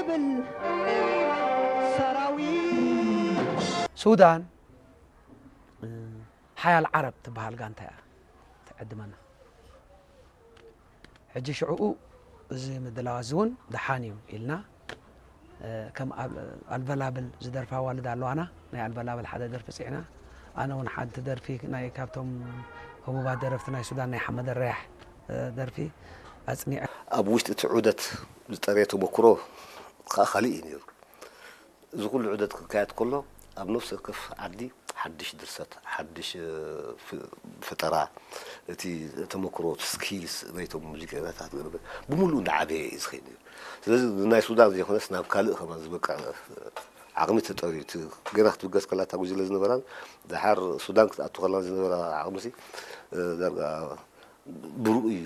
ብል ሰራዊት ሱዳን ሓያል ዓረብ ትበሃል ጋንታ እያ ትዕድመና። ሕጂ ሽዕኡ እዚ ምድላው እዚ እውን ደሓን እዩ ኢልና፣ ከም ኣልበላብል ዝደርፋ ኣዋልድ ኣለዋና። ናይ ኣልበላብል ሓደ ደርፊ ፅዕና፣ ኣነ እውን ሓንቲ ደርፊ ናይ ካብቶም ህቡባት ደረፍቲ ናይ ሱዳን ናይ ሓመድ ረያሕ ደርፊ ኣፅኒዐ። ኣብ ውሽጢ እቲ ዑደት ዝጠረየ ተመክሮ ከዓ ካልእ እዩ ነይሩ። እዚ ኩሉ ዑደት ክካየድ ከሎ ኣብ ነፍሲ ወከፍ ዓዲ ሓድሽ ድርሰት፣ ሓድሽ ፈጠራ፣ እቲ ተመክሮ፣ እቲ ስኪልስ ናይቶም ሙዚቀኛታት ገለ ብምሉእ እንዳዓበየ እዩ ዝኸይድ ነይሩ። ስለዚ ናይ ሱዳን ዘይኮነስ ናብ ካልእ ከማን ዝበቅዕ ዓቕሚ ተጠርዩ፣ እቲ ገና ክትብገስ ከላ እታ ጉጅለ ዝነበራን ደሓር ሱዳን ክትኣቱ ከላን ዝነበራ ዓቕሚሲ ዳርጋ ብሩእ እዩ